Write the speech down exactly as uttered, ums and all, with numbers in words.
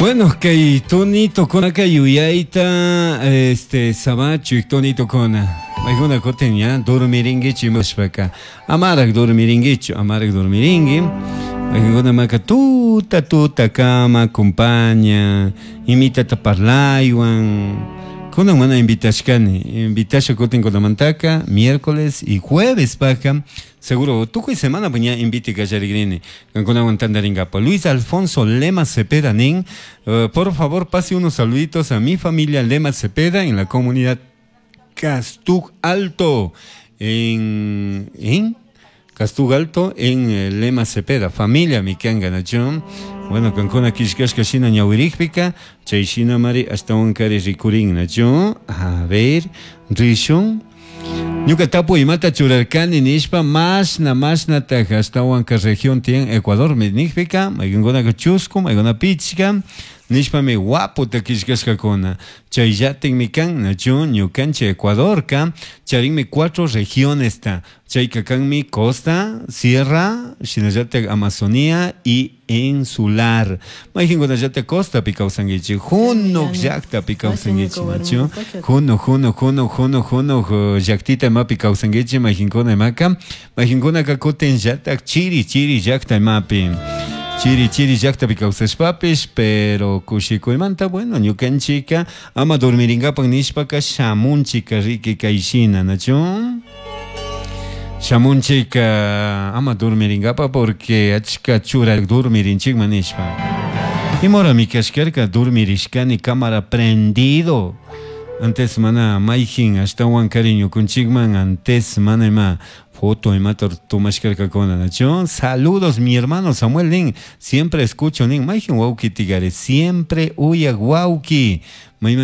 Bueno, kay tonito kunaka yuyayta este sabachu tonito kuna. Maykuna kutin ya dormiringuichu imashpaka. Amarak dormiringuichu, amarak dormiringui. Maykuna maka tuta tuta kama acompaña, imitata parlaywan. Kunan mana invitashkani, invitasha kutin kunamantaka miércoles y jueves paja. Seguro tukuy semana puña invite kallarigrini. Kankunawan tantaringapa. Luis Alfonso Lema Cepeda nin, uh, por favor pase unos saluditos a mi familia Lema Cepeda en la comunidad Castug Alto en en Castug Alto en eh, Lema Cepeda, familia mikanga nachon. Bueno, kankuna kishkashka shina ñawirikpika, chay shina mari ashtawan kari rikurin nachon. A ver, rishun. Ñuka tapu imata churarkani nishpa mashna mashnataj ashtawanka región tiyan Ecuador nikpika, maykankunaka chusku, maykuna pichka, nishpami waputa killkashkakuna. Chayllatikmi kan nachu ñukanchik Ecuadorka charinmi cuatro regionesta. Chayka kanmi costa, sierra, shinallatak Amazonía y insular. Maykankunallatak costapi kawsankichik, Hunuk llaktapi kawsankichik nachu. Hunuk, hunuk, hunuk, hunuk, hunuk llaktita imapi kawsankichik maykankuna imaka. Maykankunaka kutin llatak chiri, chiri llakta imapi. Chiri chiri llaktapi kawsashpapish, pero kushikuymanta, bueno, ñukanchika ama dormirinkapak nishpaka shamunchika riki kayshina, nachu? Shamunchika ama dormirinkapak porque achka chura dormirinchikman nishpa. Imorami kashkarka dormirishkani cámara prendido. Antes mana mayjin ashtawan cariño kunchikman antes mana ima foto imata tomashkarkakuna nachu. Saludos mi hermano Samuel nin, siempre escucho nin, mayjin wawki tigare, siempre uyak wawki. Mayman